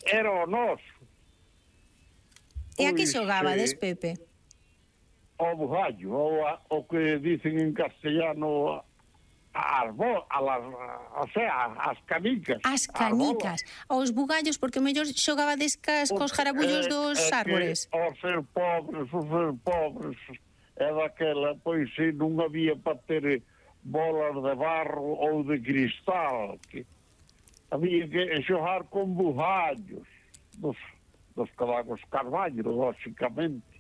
era o noso. E a que xogabades, Pepe? O bugallo, o que dicen en castellano as canicas. As canicas, os bugallos, porque mellor xogabades cos jarabullos dos árbores. O ser pobres, é daquela, pois se non había para ter bolas de barro ou de cristal, que había que xogar con bugallos dos carballos, lógicamente.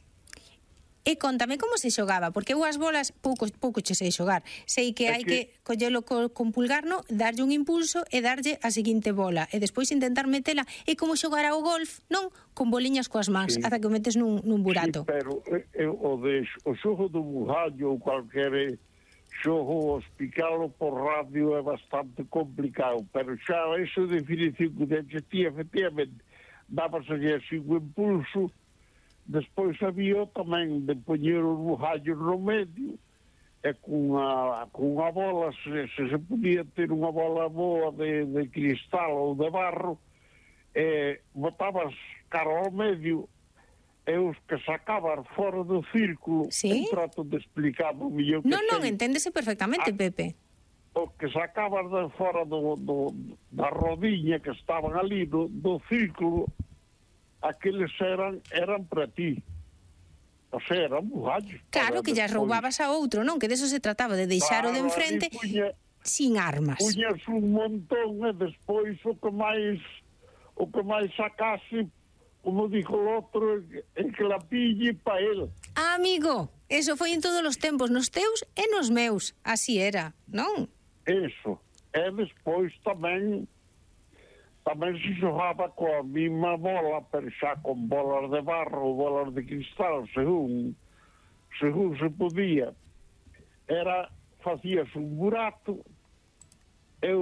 E contame como se xogaba, porque eu as bolas pouco che sei xogar. Sei que hai que collelo con pulgar, no, darlle un impulso e darlle a seguinte bola, e despois intentar metela, e como xogar ao golf, non? Con boliñas coas mans, ata que o metes nun burato. Sí, pero o xogo do bugallo ou calquera xogo, explicalo por radio é bastante complicado, pero xa esa definición que existía, efectivamente, dábase así un impulso. Despois había tamén de poñer os bugallos no medio e cunha bola, se podía ter unha bola boa de cristal ou de barro, botabas cara ao medio e os que sacaban fora do círculo, trato de explicar o millón que sei. Non, enténdese perfectamente, Pepe. O que sacaban de fora da rodiña que estaban ali do círculo, aqueles eran para ti. O sea, eran bugallos. Claro, que ya roubabas a outro, non? Que deso se trataba, de deixar o de enfrente sin armas. Puñas un montón e despois o que máis sacase, como dijo o outro, el que la pille pa el. Amigo, eso foi en todos os tempos, nos teus e nos meus. Así era, non? Eso. E despois tamén se xogaba coa mesma bola, pero xa con bolas de barro ou bolas de cristal, según se podía. Facías un burato e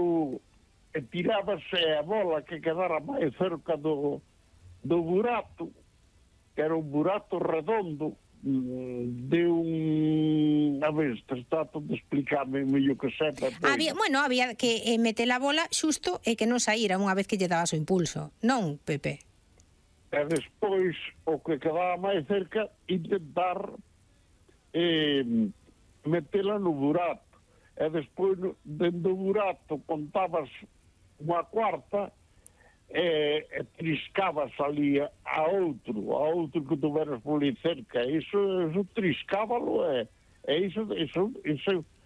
tirábase a bola que quedara máis cerca do burato, que era un burato redondo, de un... A ver, trato de explicarme mellor que sepa. Había que meter a bola xusto e que non saíra unha vez que lle dabas o impulso, non, Pepe? E despois, o que quedaba máis cerca, intentar metela no burato. E despois, dentro do burato, contabas unha cuarta e triscabas ali a outro que tuveras por ali cerca. Iso triscábalo e iso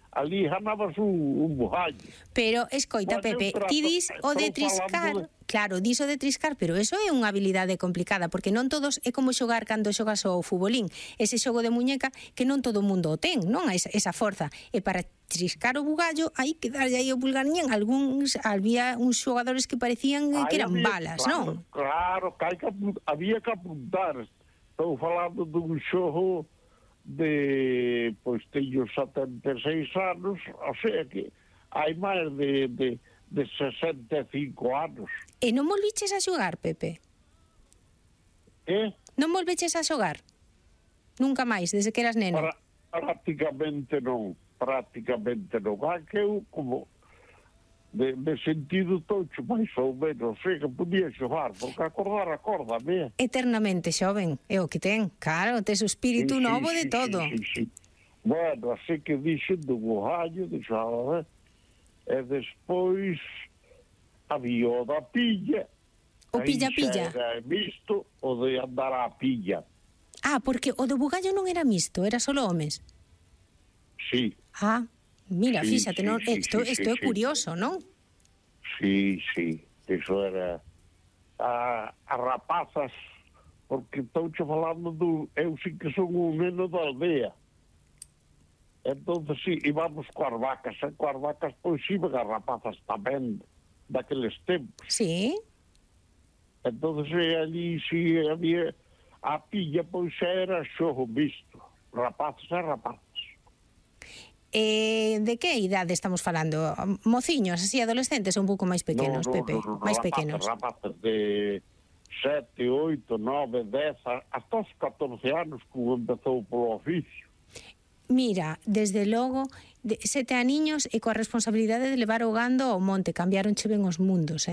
ali ganabas un bugallo. Pero, escoita, Pepe, ti dis o de triscar, claro, dis o de triscar, pero eso é unha habilidade complicada, porque non todos é como xogar cando xogas ao futbolín, ese xogo de muñeca que non todo o mundo o ten, non? Esa forza. E para triscar o bugallo, hai que darlle aí o pulgarñén. Había uns xogadores que parecían que eran balas, non? Claro, había que apuntar. Estou falando dun xogo de, pois, teño 76 anos, o sea que hai máis de 65 anos. E non volviches a xogar, Pepe? Non volveches a xogar? Nunca máis, desde que eras neno? Prácticamente non. Que eu, como de sentido tocho, máis ou menos, sei que podía xogar, porque acordame. Eternamente xoven, é o que ten, claro, tes o espírito novo de todo. Sí. Bueno, así que dixen do bugallo, e despois había o da pilla. O pilla-pilla. Era misto o de andar á pilla. Porque o do bugallo non era misto, era solo homes. Sí. Mira, fíxate, isto é curioso, non? Sí, eso era as rapazas, porque estou falando eu sí que son un neno da aldea. Entonces, sí, íbamos coas vacas, pois iban as rapazas tamén, daqueles tempos. Sí. Entonces, ali, sí, había a pilla, pois era xogo visto, rapazas e rapazas. De que idade estamos falando? Mociños, así, adolescentes ou un pouco máis pequenos, Pepe? Máis pequenos. Rapazas de 7, 8, 9, 10, hasta os 14 anos que empezou polo oficio. Mira, desde logo, 7 aniños e coa responsabilidade de levar o gando ao monte, cambiaronche ben os mundos,